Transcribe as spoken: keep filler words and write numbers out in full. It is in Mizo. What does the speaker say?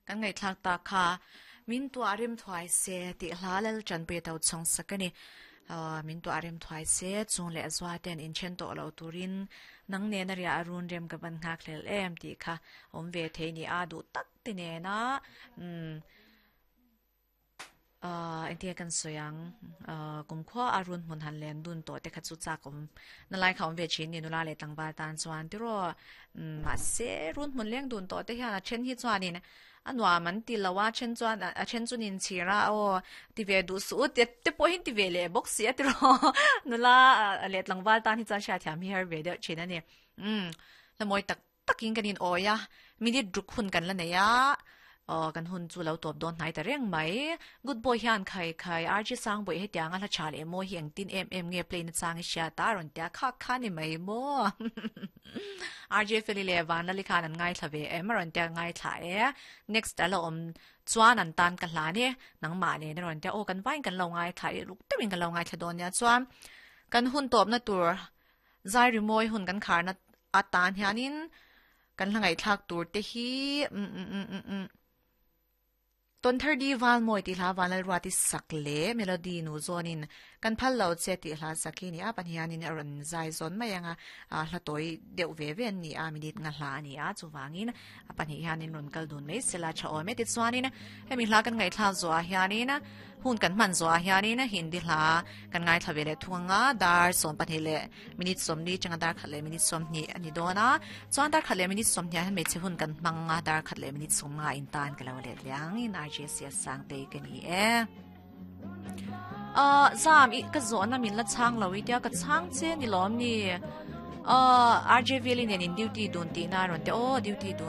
Kan ngai thlak ta kha min tu arim thuai se ti hla lal chan pe tau chong sakani min tu arim thuai se chung le azwa ten in chen to lo turin nang ne na ria arun rem ka ban ngak hlel em ti kha om ve the ni a du tak ti ne na um uh entia kan soyang uh kum khwa arun mun han len dun to te kha chu cha kom na lai kha om ve chin ni nula le tlangwal tan chuan ti ro ma se run mun leng dun to te hian a then hi chuanin anwa man ti lawa chen chuan a chen chunin chira o ti ve du su te te po hin ti ve le box sia ti ro nula le tlangwal tan hi chuan sha thiam hi har ve de chin ani um la moi tak takin kanin oya minute ruk hun kan la neya ờ kan hun chu lo top don nai ta reng mai good boy hian khai khai R G sang boy he tianga la chale mo hi ang tin em em nge play na chang sha ta ron tia kha kha ni mai mo R J feli le van la li khan an ngai thlave em ron tia ngai thla e next alo om chuan an tan ka hla ni nang ma ne ron tia o kan vain kan lo ngai thla e luk tewin kan lo ngai thla don ya chuan kan hun top na tur zai ri moi hun kan khar na atan hianin kan hlangai thlak tur te hi um um um um um ton thirty wal moi ti hla wanal ruati sakle melody nu zonin kan phal lo che ti hla sakhi ni a pan hianin aron zai zon mai anga a hla toi deuh ve ve ni a minute nga hla ani a chuwangin a pan hianin ron kal dun mai sela cha ome ti chuanin hemi hla kan ngai thla zo a hianin hun kan man zo a hianin Hindi hla kan ngai thla vele thunga dar som pan le minute som ni changa dar khat le minute som ni ani dona chuan dar khat le minute som ni han me che hun kan manga dar khat le minute som nga in tan kalo le liang in R J C S sang te ke ni e ờ zam i ka zo na min la chang lo i tia ka chang che ni lom ni ờ R J Valley nen in duty dun ti na ron te o duty dun.